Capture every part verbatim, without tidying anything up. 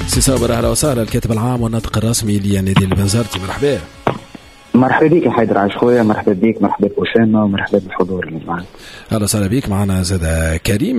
سي صابر اهلا وسهلا، الكاتب العام والناطق الرسمي لنادي البنزرتي، مرحبا. مرحبا بك يا حيدر عايش خويا، مرحبا بك، مرحبا بأسامة ومرحبا بالحضور اللي معنا. اهلا وسهلا بك. معنا زاد كريم.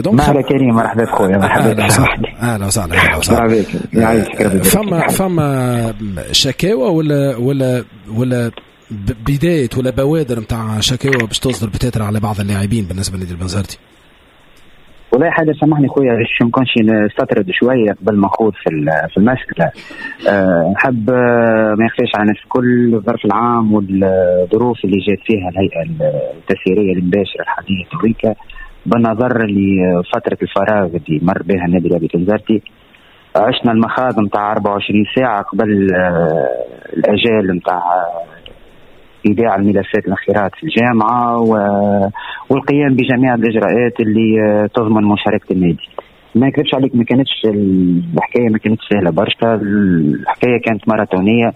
donc مرحبا كريم، مرحبا بخويا، مرحبا بك. اهلا وسهلا. اهلا وسهلا. مرحبا بك، يعيشك. فما فما شكاوى ولا ولا ولا بداية ولا بوادر نتاع شكاوى باش تصدر بتاتر على بعض اللاعبين بالنسبة لنادي البنزرتي؟ والله حاجة سامحني خويا باش ما نكونش نستطرد شوية قبل ما نخوض في في المسالة. أه نحب ما يخفاش على الناس الكل الظرف العام والظروف اللي جات فيها الهيئة التسييريه المباشرة الحالية تويكا، بالنظر لفترة الفراغ اللي مر بها النادي الرياضي البنزرتي. عشنا المخاض نتاع أربعة وعشرين ساعة قبل الاجال نتاع إيداع الملفات الانخراط في الجامعة والقيام بجميع الإجراءات اللي تضمن مشاركة النادي. ما نكذبش عليك، ما كانتش الحكاية ما كانتش سهلة برشا، الحكاية كانت ماراثونية.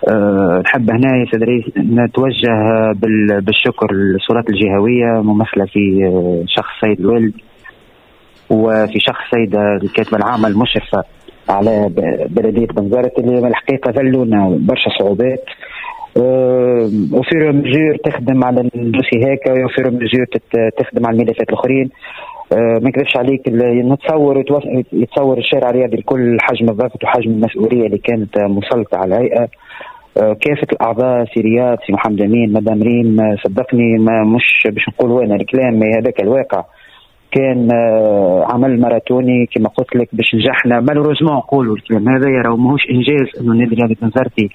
أه نحب هنا يا سيدي نتوجه بالشكر للسلطات الجهوية ممثلة في شخص سيد الوالد وفي شخص سيد الكاتبة العامة المشرفة على بلدية بنزرت، اللي الحقيقة ذلونا برشا صعوبات. au fur et à mesure تخدم على ال dossier هيك، au fur et à mesure تخدم على الملفات الاخرين. ما نكذبش عليك، نتصور يتصور الشارع الرياضي الكل حجم الضغط وحجم المسؤولية اللي كانت مسلطه على الهيئة. كافة الاعضاء، سي رياض، سي محمد امين، مدام ريم، صدقني ما مش باش نقول انا الكلام، هذاك الواقع. كان عمل ماراثوني كما قلت لك باش نجحنا. malheureusement نقولوا الكلام هذا راهو ماهوش انجاز انه النادي الرياضي البنزرتي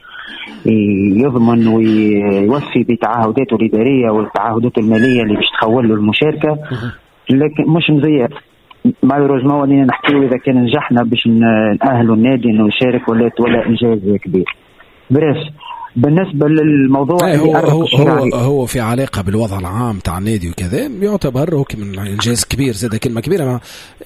يضمن ويوفي بتعهداته الادارية والتعهدات المالية اللي باش تخول له المشاركة، لكن مش مزيان. malheureusement ولينا نحكيو اذا كان نجحنا باش نأهلوا النادي انه يشارك ولا ولا انجاز كبير. bref بالنسبة للموضوع هو هو هو, هو في علاقة بالوضع العام تاع النادي وكذا، يعتبر هو من انجاز كبير، زاد كلمة كبيرة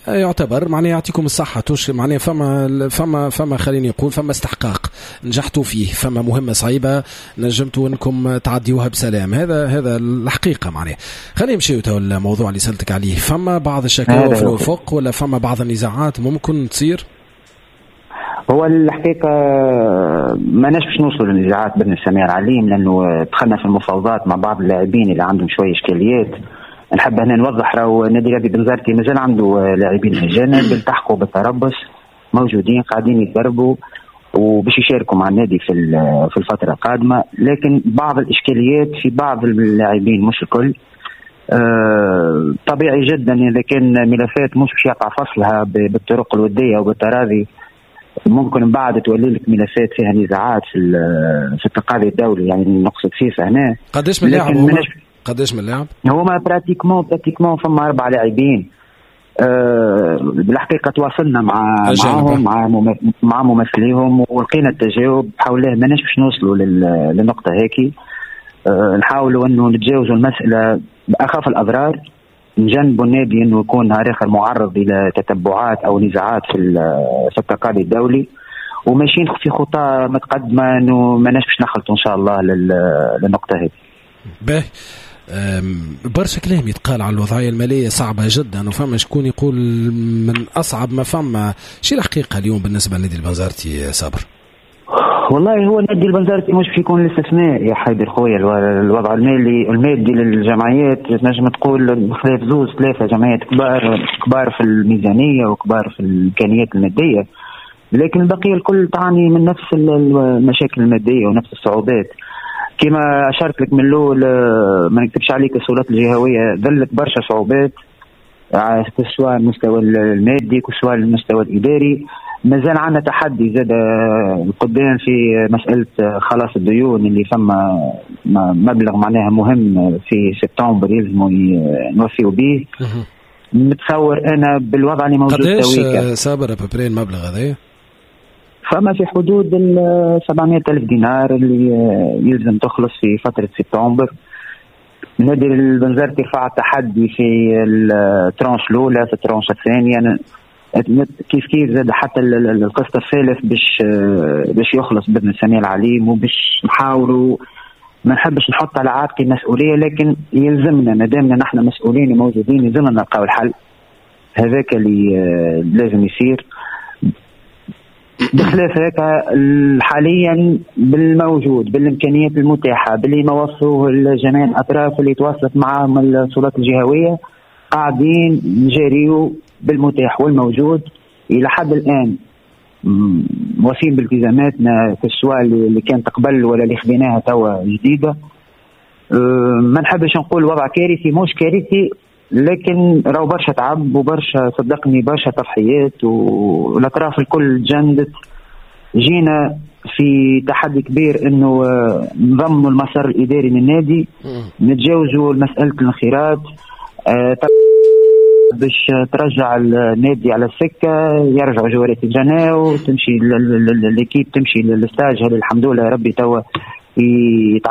يعتبر، معناها يعطيكم الصحة توش، معناها فما فما فما خليني نقول فما استحقاق نجحتوا فيه، فما مهمة صعيبة نجمتوا انكم تعديوها بسلام. هذا هذا الحقيقة. معناها خلينا نمشيو تو الموضوع اللي سالتك عليه. فما بعض الشكاوى في الافق ولا فما بعض النزاعات ممكن تصير؟ هو الحقيقة ما ناش باش نوصلوا للنزاعات بين السميع العليم، لأنه دخلنا في المفاوضات مع بعض اللاعبين اللي عندهم شوية إشكاليات. نحب هنا نوضح راهو النادي الرياضي البنزرتي مازال عنده لاعبين أجانب التحقوا بالتربص، موجودين قاعدين يتدربوا وباش يشاركوا مع النادي في في الفترة القادمة، لكن بعض الإشكاليات في بعض اللاعبين مش الكل. أه طبيعي جدا إذا كان ملفات مش باش يقع فصلها بالطرق الودية وبالتراضي، ممكن من بعد تولي لك ملفات فيها نزاعات في في التقاضي الدولي، يعني نقصد فيفا هنا. قداش من لاعب هما؟ قداش من لاعب؟ هما pratiquement pratiquement فما أربع لاعبين. أه بالحقيقة تواصلنا مع معهم مع مع ممثليهم ولقينا التجاوب. بحول الله ماناش باش نوصلوا للنقطة هيك. أه نحاولوا انه نتجاوزوا المسألة بأخف الأضرار، نجنبوا النادي انه يكون نهار اخر معرض الى تتبعات او نزاعات في في التقاضي الدولي، وماشيين في خطى متقدمة انه ماناش باش نخلطوا ان شاء الله للنقطة هذه. باهي، برشا كلام يتقال على الوضعية المالية صعبة جدا، وفما شكون يقول من اصعب ما فما. شي الحقيقة اليوم بالنسبة لنادي البنزرتي صابر؟ والله هو النادي البنزرتي مش باش يكون الاستثناء يا حيدر خويا. الوضع المالي المادي للجمعيات تنجم تقول خلاف زوز ثلاثة جمعيات كبار كبار في الميزانية وكبار في الامكانيات المادية، لكن البقية الكل تعاني من نفس المشاكل المادية ونفس الصعوبات. كما اشرت لك من الاول، ما نكتبش عليك، السلطات الجهوية ذلت برشا صعوبات سواء المستوى المادي سواء المستوى الاداري. مازال عندنا تحدي زاد قدام في مسألة خلاص الديون اللي فما مبلغ معناها مهم في سبتمبر يلزموا نوفيو به. متصور أنا بالوضع اللي موجود قداش صابر à peu près المبلغ هذا؟ فما في حدود ال سبعمائة ألف دينار اللي يلزم تخلص في فترة سبتمبر. نادي البنزرتي رفع التحدي في ال tranche الأولى، في ال tranche الثانية كيف كيف زاد حتى القسط الثالث باش باش يخلص باذن السميع العليم، وباش نحاولوا ما نحبش نحط على عاتقي مسؤولية، لكن يلزمنا ما دامنا نحن مسؤولين وموجودين يلزمنا نلقاو الحل. هذاك اللي لازم يصير. بخلاف هيك حاليا بالموجود بالامكانيات المتاحة باللي ما وصلوه جميع الاطراف اللي تواصلت معهم السلطات الجهوية، قاعدين نجاريو بالمتاح والموجود الى حد الان، موافين بالتزاماتنا سواء اللي كانت قبل ولا اللي خذيناها توا جديدة. ما نحبش نقول وضع كارثي، مش كارثي، لكن راهو برشا تعب وبرشا صدقني برشا تضحيات، والاطراف الكل جندت. جينا في تحدي كبير انه نضمنوا المسار الاداري للنادي، نتجاوزوا مسالة الانخراط باش ترجع النادي على السكة، يرجعوا جوارات الجناو، تمشي l'équipe تمشي لل stage. هذا الحمد لله ربي توا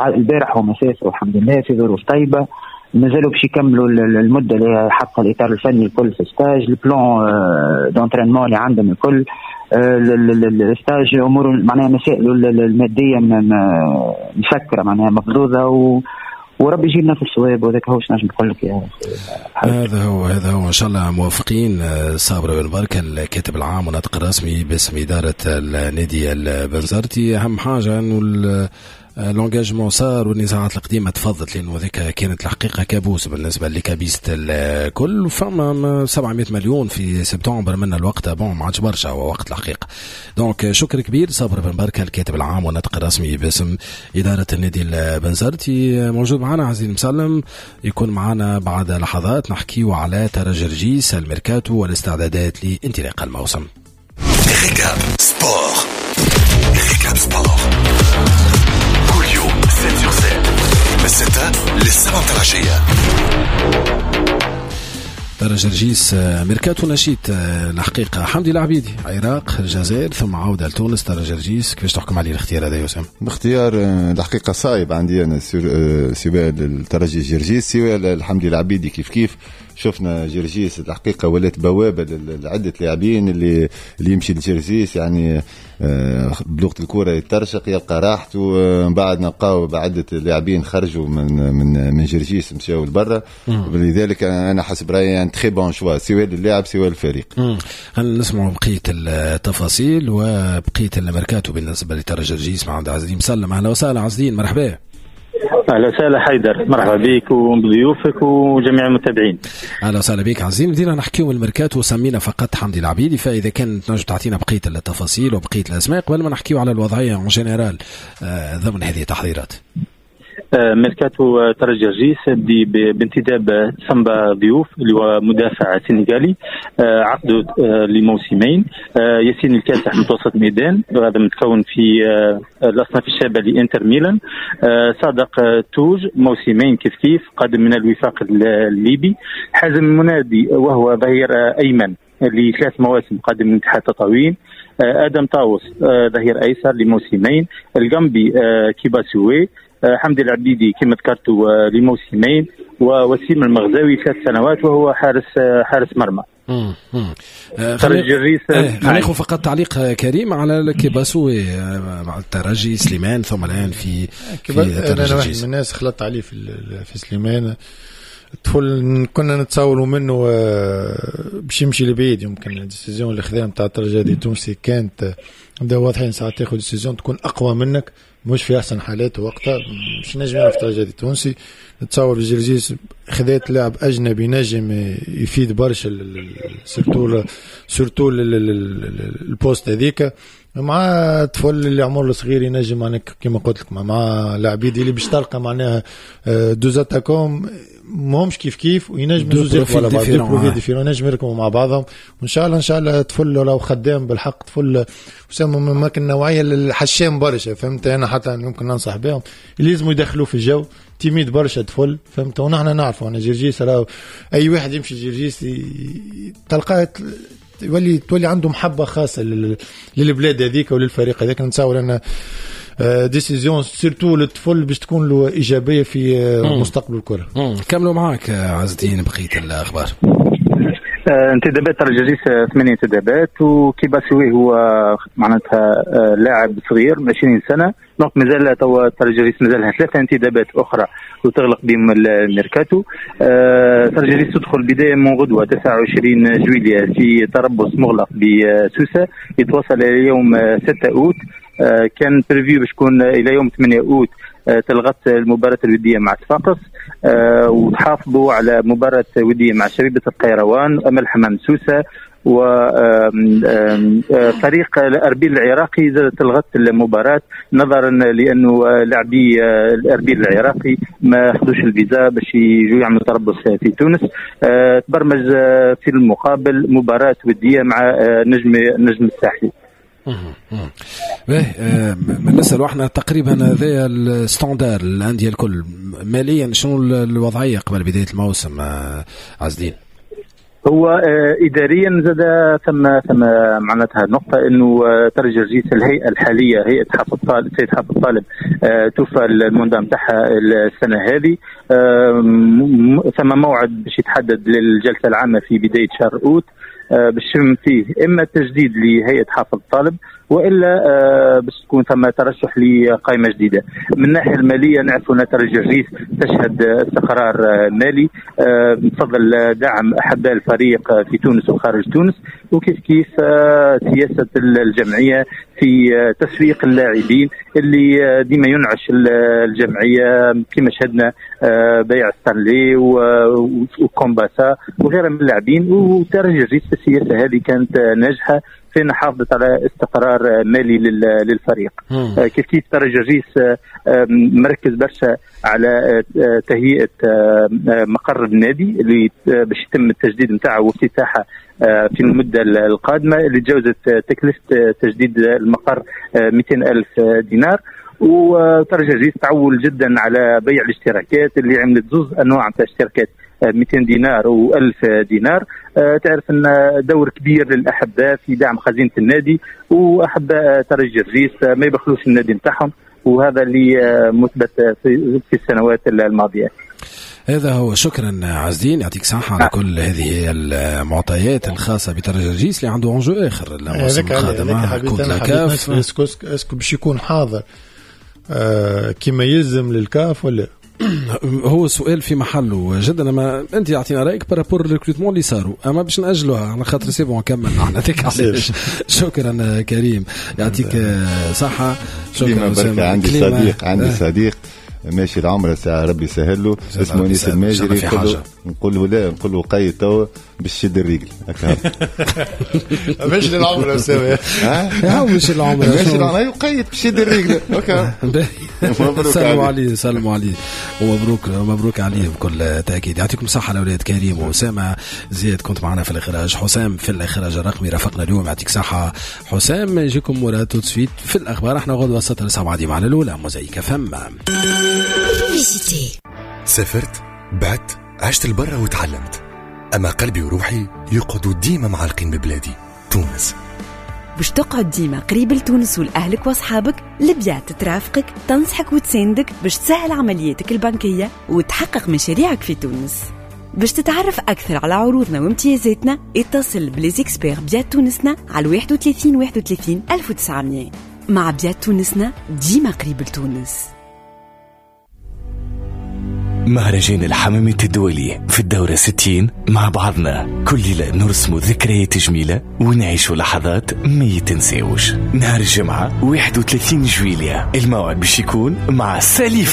البارح هما سافروا الحمد لله في ظروف طيبة، مازالوا باش يكملوا المدة اللي حطها الاطار الفني الكل في stage، ال plan d'entraînement اللي عندهم الكل، ال stage امور معناها مسائل المادية مسكره معناها مفضوضه، و وربي يجيبنا في الصواب. وذاك هو نجم نقول لك يا هذا هو هذا هو ان شاء الله موافقين. صابر بن بركة الكاتب العام والناطق الرسمي باسم ادارة النادي البنزرتي، اهم حاجة انه l'engagement صار والنزاعات القديمة تفضت، لانه ذيك كانت الحقيقة كابوس بالنسبة ل les cabistes الكل. فما سبعمية مليون في سبتمبر من الوقت، bon ما عادش برشا هو وقت الحقيقة. donc شكر كبير صابر بن بركة الكاتب العام والناطق الرسمي باسم ادارة النادي البنزرتي. موجود معنا عزيز مسلم، يكون معنا بعد لحظات نحكيو على ترجي جرجيس، الميركاتو والاستعدادات لانطلاق الموسم. Récap Sport، Récap Sport سبعة sur سبعة من ستة للسبعة متاع العشية. ترجي جرجيس ميركاتو نشيط الحقيقة. حمدي العبيدي عراق الجزائر ثم عودة لتونس. ترجي جرجيس كيفاش تحكم عليه الاختيار هذا يا وسام؟ الاختيار الحقيقة صعيب عندي أنا، سواء الترجي جرجيس سواء الحمدي العبيدي كيف كيف. شفنا جرجيس الحقيقة ولات بوابة لعدة لاعبين اللي اللي يمشي لجرجيس يعني بلغة الكرة يترشق يلقى راحته. من بعد نلقاو بعدة لاعبين خرجوا من من من جرجيس مشاو لبرا. ولذلك أنا حسب رأيي يعني très bon choix سواء للاعب سواء الفريق. خلينا نسمعوا بقية التفاصيل وبقية الميركاتو بالنسبة لترجي جرجيس مع عبد العزيز مسلم. أهلا وسهلا عزيز، مرحبا. اهلا وسهلا حيدر، مرحبا بك وبضيوفك وجميع المتابعين. اهلا وسهلا بك عزيز. بدينا نحكيو الميركاتو وسمينا فقط حمدي العبيدي، فاذا كان تنجم تعطينا بقية التفاصيل وبقية الاسماء قبل ما نحكيو على الوضعية en général ضمن هذه التحضيرات. ميركاتو ترجي جرجيس بانتداب سامبا ضيوف اللي هو مدافع سنغالي، عقده لموسمين. ياسين الكاسح متوسط ميدان، هذا متكون في الاصناف الشابة لانتر ميلان. صادق توج موسمين كيف كيف قادم من الوفاق الليبي. حازم المنادي وهو ظهير ايمن لثلاث مواسم قادم من اتحاد تطاوين. ادم طاوس ظهير ايسر لموسمين. الجامبي كيباسوي. حمدي العبيدي كما ذكرت لموسمين، ووسيم المغزاوي ثلاث سنوات وهو حارس حارس مرمى. امم ترجي جرجيس. خلينا ناخذ فقط تعليق كريم على كيباسوي مع الترجي سليمان ثم الان في في ترجي. انا واحد من الناس خلطت عليه في في سليمان، الطفل كنا نتصوروا منه باش يمشي لبعيد. يمكن ال décision اللي خذاها نتاع الترجي التونسي كانت بدا واضحين، ساعات تاخذ décision تكون اقوى منك مش في احسن حالاته وقتها، مش نجم يعرف الترجي التونسي. نتصور في جرجيس خذات لاعب اجنبي نجم يفيد برشا surtout surtout ال poste هذيك مع طفل اللي عمره صغير ينجم معناها كيما قلت لك مع العبيدي اللي باش تلقى معناها deux attaquants ماهمش كيف كيف وينجم زوز يركبوا على بعض، deux profils différents ينجم يركبوا مع بعضهم. وان شاء الله ان شاء الله طفل لو خدام بالحق طفل وسام من النوعية الحشام برشا، فهمت؟ انا حتى يمكن ننصح بهم اللي لازم يدخلوه في الجو timide برشا طفل، فهمت؟ ونحن نعرفوا انا جرجيس راهو اي واحد يمشي جرجيس تلقاه يولي تولي عنده محبة خاصة للبلاد هذيك وللفريق هذاك. نتصور ان décision surtout للطفل باش تكون له ايجابية في مستقبل الكره. كملوا معاك عز الدين بقية الاخبار. انتدابات ترجي جرجيس ثمانية انتدابات، وكيباسوي هو معناتها لاعب صغير عشرين سنة، donc مازال توا ترجي جرجيس مازال لها ثلاثة انتدابات اخرى وتغلق بهم الميركاتو. ترجي جرجيس تدخل بداية من غدوه تسعة وعشرين جويلية في تربص مغلق بسوسه يتواصل الى يوم ستة اوت. كان prévu باش تكون الى يوم ثمانية اوت تلغت المباراة الودية مع صفاقس، وتحافظوا على مباراة ودية مع شبيبة القيروان، أمل حمام سوسة، وفريق الأربيل العراقي زادت تلغت المباراة نظرا لأنه لاعبي الأربيل العراقي ما أخذوش الفيزا باش يجوا يعملوا تربص في تونس. تبرمج في المقابل مباراة ودية مع نجم نجم الساحلي. باهي، نسألوا احنا تقريبا هذايا ال standard الاندية الكل ماليا شنو الوضعية قبل بداية الموسم عزدين؟ هو اداريا زاد ثم ثم معناتها نقطة انه ترجي جرجيس الهيئة الحالية هيئة حافظ طالب سيد حافظ طالب توفى ال mandat نتاعها السنة هذه، ثم موعد باش يتحدد للجلسه العامة في بداية شهر اوت باش يتم فيه اما تجديد لهيئة حافظ طالب والا باش تكون ثم ترشح لقائمة جديدة. من الناحية المالية نعرف ان ترجي جرجيس تشهد استقرار مالي بفضل دعم احباء الفريق في تونس وخارج تونس، وكيف كيف سياسة الجمعية في تسويق اللاعبين اللي ديما ينعش الجمعية كما شهدنا بيع ستانلي وكومباسا وغيرها من اللاعبين. وترجي جرجيس في السياسة هذه كانت ناجحة فين حافظت على استقرار مالي للفريق. كيف كيف ترجي جرجيس مركز برشا على تهيئة مقر النادي اللي باش يتم التجديد نتاعه وافتتاحه في المدة القادمة، اللي تجاوزت تكلفة تجديد المقر مئتين ألف دينار. وترجي جرجيس تعول جدا على بيع الاشتراكات اللي عملت زوز انواع نتاع اشتراكات، مئتين دينار وألف دينار. تعرف ان دور كبير للاحباء في دعم خزينة النادي، واحباء ترجي جرجيس ما يبخلوش النادي نتاعهم، وهذا اللي مثبت في السنوات الماضية. هذا هو. شكرا عزدين، يعطيك صحة على كل هذه المعطيات الخاصة بترجي جرجيس اللي عنده enjeu اخر الموسم القادم coupe la CAF. est-ce que باش يكون حاضر آه كما يلزم للكاف ولا؟ هو سؤال في محله جدا. اما انت اعطينا رايك par rapport recrutement اللي صاروا، اما باش ناجلوها على خاطر c'est bon كملنا احنا هذيك علاش. شكرا كريم، يعطيك صحة. شكرا. عندي صديق عندي صديق ماشي العمرة ساعة ربي يسهل له، اسمه انيس الماجري، نقول له لا، نقول له قيد توا باش تشد الرجل هكا. ماشي للعمرة اسامة، ها ماشي للعمرة، ماشي للعمرة قيد باش تشد الرجل هكا. سلموا عليه، سلموا عليه ومبروك مبروك عليه بكل تاكيد. يعطيكم الصحة الاولاد كريم واسامة. زياد كنت معنا في الاخراج، حسام في الاخراج الرقمي رافقنا اليوم، يعطيك صحة حسام. يجيكم مراد tout de suite في الاخبار. احنا غدوه ستة لسبعة دي معنا الاولى موزايك فم. سافرت، بعت، عشت البرة وتعلمت، أما قلبي وروحي يقعدوا ديما معلقين ببلادي تونس. باش تقعد ديما قريب لتونس ولأهلك وأصحابك، البيات ترافقك، تنصحك وتساندك باش تسهل عملياتك البنكية وتحقق مشاريعك في تونس. باش تتعرف أكثر على عروضنا وامتيازاتنا، اتصل ب les experts بيات تونسنا على واحد وثلاثين واحد وثلاثين ألف وتسعمية. مع بيات تونسنا ديما قريب لتونس. مهرجان الحمامات الدولي في الدورة ستين مع بعضنا كل ليلة نرسم ذكريات جميلة ونعيش لحظات ما يتنساوش. نهار الجمعة واحد وثلاثين جويلية الموعد باش يكون مع سالي